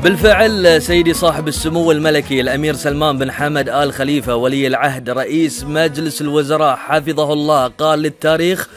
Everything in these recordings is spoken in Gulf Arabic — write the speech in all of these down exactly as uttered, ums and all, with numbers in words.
بالفعل سيدي صاحب السمو الملكي الأمير سلمان بن حمد آل خليفة ولي العهد رئيس مجلس الوزراء حفظه الله قال للتاريخ: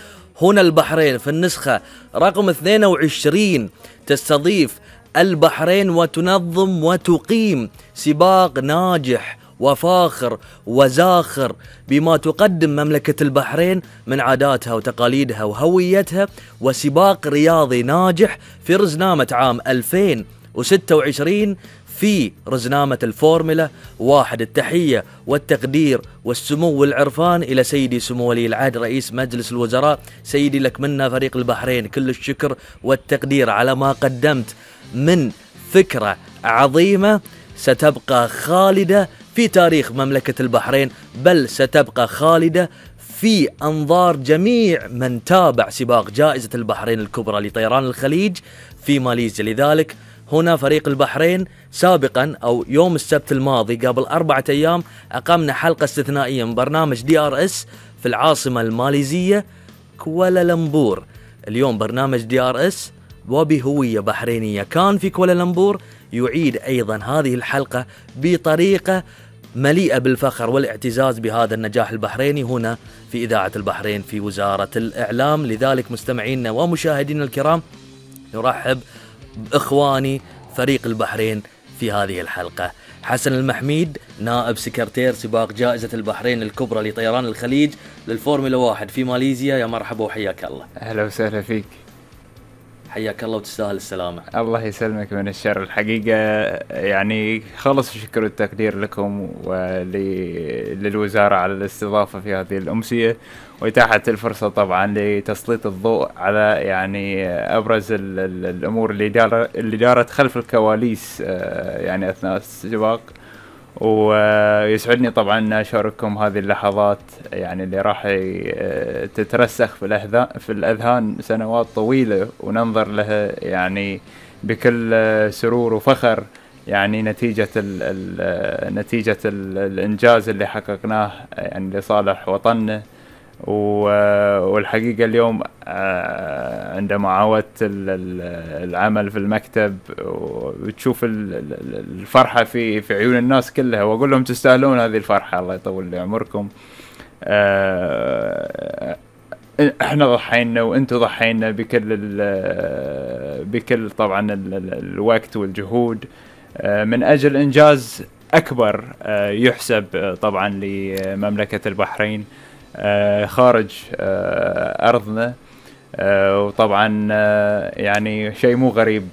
هنا البحرين في النسخة رقم اثنين وعشرين تستضيف البحرين وتنظم وتقيم سباق ناجح وفاخر وزاخر بما تقدم مملكة البحرين من عاداتها وتقاليدها وهويتها، وسباق رياضي ناجح في رزنامة عام ألفين وستة وعشرين في رزنامة الفورمولا واحد. التحية والتقدير والسمو والعرفان إلى سيدي سمو ولي العهد رئيس مجلس الوزراء. سيدي لك منا فريق البحرين كل الشكر والتقدير على ما قدمت من فكرة عظيمة ستبقى خالدة في تاريخ مملكة البحرين، بل ستبقى خالدة في أنظار جميع من تابع سباق جائزة البحرين الكبرى لطيران الخليج في ماليزيا. لذلك هنا فريق البحرين سابقا أو يوم السبت الماضي قبل أربعة أيام أقمنا حلقة استثنائية من برنامج دي آر إس في العاصمة الماليزية كوالالمبور. اليوم برنامج دي آر إس وبهوية بحرينية كان في كوالالمبور يعيد أيضا هذه الحلقة بطريقة مليئة بالفخر والاعتزاز بهذا النجاح البحريني هنا في إذاعة البحرين في وزارة الإعلام. لذلك مستمعينا ومشاهدينا الكرام نرحب بإخواني فريق البحرين في هذه الحلقة. حسن المحميد نائب سكرتير سباق جائزة البحرين الكبرى لطيران الخليج للفورمولا واحد في ماليزيا، يا مرحبا وحياك الله. أهلا وسهلا فيك. حياك الله وتستاهل السلامة. الله يسلمك من الشر. الحقيقة يعني خلص الشكر والتقدير لكم وللوزارة على الاستضافة في هذه الأمسية وإتاحة الفرصة طبعا لتسليط الضوء على يعني أبرز ال ال الأمور اللي دار اللي دارت خلف الكواليس يعني أثناء السباق. ويسعدني طبعا أن أشارككم هذه اللحظات يعني اللي راح تترسخ في الأذهان في الأذهان سنوات طويلة وننظر لها يعني بكل سرور وفخر، يعني نتيجة ال ال نتيجة ال الإنجاز اللي حققناه يعني لصالح وطننا. والحقيقة اليوم عندما عاودت العمل في المكتب وتشوف الفرحة في في عيون الناس كلها، وأقول لهم تستاهلون هذه الفرحة، الله يطول لي عمركم. احنا ضحينا وانتم ضحينا بكل بكل طبعا الوقت والجهود من أجل إنجاز أكبر يحسب طبعا لمملكة البحرين خارج أرضنا. وطبعا يعني شيء مو غريب